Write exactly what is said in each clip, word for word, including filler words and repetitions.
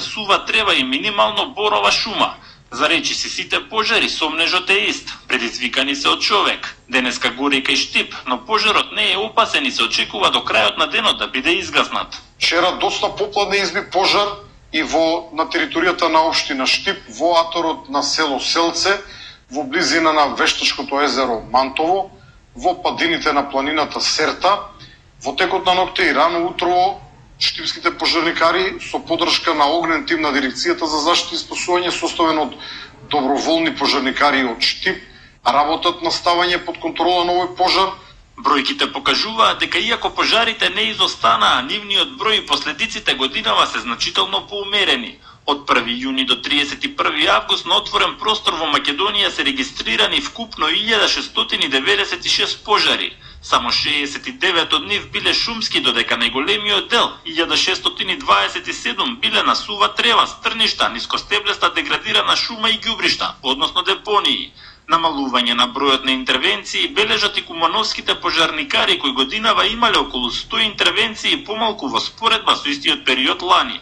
сува трева и минимално борова шума. За речи си сите пожари сомнежот е ист, предизвикани се од човек. Денеска гори кај Штип, но пожарот не е опасен и се очекува до крајот на денот да биде изгаснат. Вчера доста попладне изби пожар и во на територијата на општина Штип, во аторот на село Селце, во близина на вештачкото езеро Мантово, во падините на планината Серта. Во текот на ноќта и рано утро штипските пожарникари со поддршка на огнен тим на дирекцијата за заштита и спасување составен од доброволни пожарникари од Штип работат на ставање под контрола на овој пожар. Бројките покажуваат дека иако пожарите не изостанаа, нивниот број и последиците годинава се значително поумерени. Од први јуни до триесет и први август на отворен простор во Македонија се регистрирани вкупно илјада шестстотини деветдесет и шест пожари. Само шеесет и девет од нив биле шумски, додека најголемиот дел, илјада шестстотини дваесет и седум, биле на сува трева, стрништа, нискостеблеста деградирана шума и ѓубришта, односно депонии. Намалување на бројот на интервенции бележат и кумановските пожарникари кои годинава имале околу сто интервенции помалку во споредба со истиот период лани.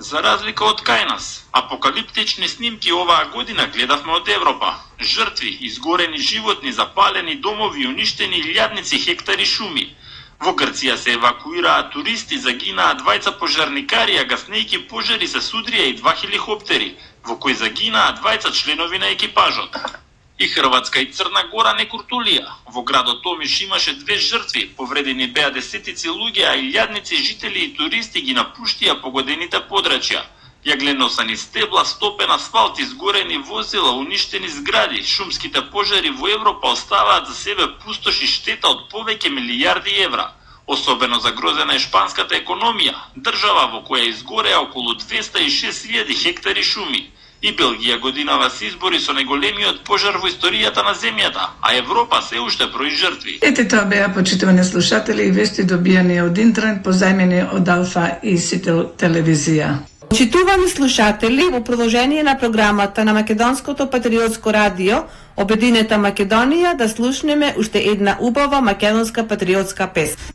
За разлика од кај нас, апокалиптични снимки оваа година гледавме од Европа. Жртви, изгорени животни, запалени домови, уништени илјадници хектари шуми. Во Грција се евакуираа туристи, загинаа двајца пожарникари, а гаснејќи пожари се судрија и два хеликоптери, во кои загинаа двајца членови на екипажот. И Хрватска и Црна Гора не куртулија. Во градот Томиш имаше две жртви, повредени беа десетици луѓе, а илјадници жители и туристи ги напуштија погодените подрачја. Јагленосани стебла, стопен асфалт, изгорени возила, уништени згради, шумските пожари во Европа оставаат за себе пустош и штета од повеќе милијарди евра. Особено загрозена е шпанската економија, држава во која изгореа околу двеста и шест илјади хектари шуми. И Белгија годинава се избори со најголемиот пожар во историјата на земјата, а Европа се уште брои жртви. Ете тоа беа, почитувани слушатели, и вести добијани од интернет, позајмени од Алфа и Сител телевизија. Почитувани слушатели, во продолжение на програмата на Македонското патриотско радио Обединета Македонија, да слушнеме уште една убава македонска патриотска песна.